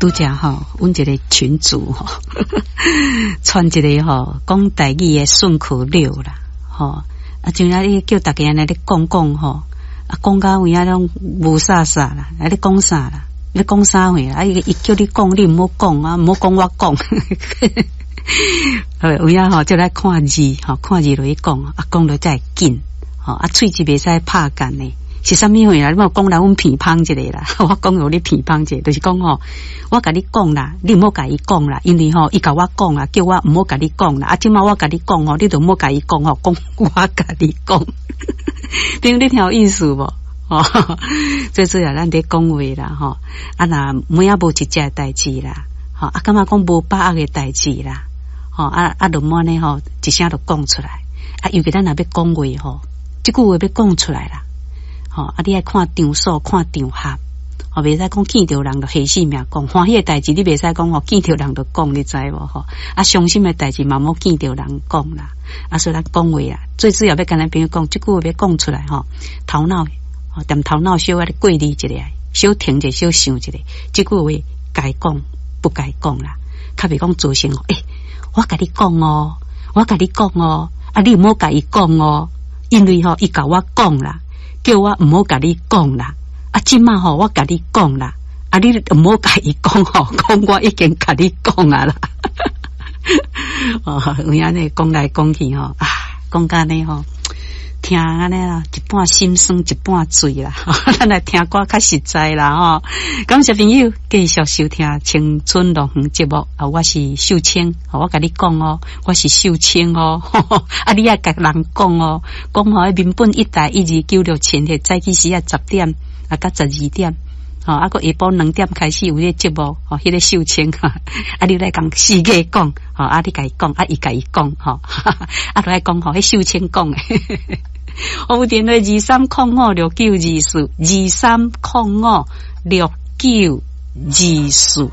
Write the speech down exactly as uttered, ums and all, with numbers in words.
拄才吼，阮一個群組吼，傳一個吼講台語的順口溜啦，吼啊，像啊，你叫逐家按呢咧講講吼，啊，講甲有影攏霧煞煞啦，啊，咧講啥啦？咧講啥貨啦？啊，伊伊叫你講，你毋好講啊，毋好講我講。有影吼，就來看字吼，看字落去講，啊，講落才會緊，吼，啊，喙舌袂使拍結的。是啥物貨啦？你莫講來阮鼻芳一下啦，我講予你鼻芳一下，就是講吼，我共你講啦，你毋好共伊講啦，因為吼，伊共我講啦，叫我毋好共你講啦。啊，這擺我共你講吼，你就毋好共伊講吼，講我共你講，聽你聽有意思無？吼，最主要咱佇講話啦，吼，啊若每仔無一隻代誌啦，吼，啊感覺講無把握的代誌啦，吼，啊啊，就按呢吼，一聲就講出來，啊，尤其咱若欲講話吼，這句話欲講出來啦。吼，啊！你愛看場所，看場合，吼，袂使講見著人就彼死命講，歡喜的代誌你袂使講吼，見著人就講，你知無吼？啊，傷心的代誌嘛，莫見著人講啦。啊，所以咱講話啊，最主要欲共咱朋友講，這句話欲講出來吼，頭腦吼，踮頭腦小可過濾一下，小停者，小想一下，這句話該講不該講啦，較袂講造成，欸，我共你講哦，我共你講哦，啊，你毋好共伊講哦，因為吼，伊共我講啦。叫我毋好共你講啦，啊，這擺吼，我共你講啦，啊，你毋好共伊講吼，講我已經共你講啊啦。哦，有影呢講來講去吼，啊，講甲呢吼，聽按呢啦，一半心酸一半醉啦。咱來聽歌較實在啦吼。感謝朋友繼續收聽《青春樂園》節目啊，我是秀清，我共你講哦，我是秀清哦，啊，你愛共人講哦，講吼，民本一台一二九六千赫，早起時啊十點啊到十二點。吼，啊，閣下晡兩點開始有彼個節目，吼，彼個秀清，啊，你來共世界講，吼，啊，你共伊講，啊，伊共伊講，吼，啊，就愛講吼，彼秀清講的。我有電話二三空五六九二四，二三空五六九二四。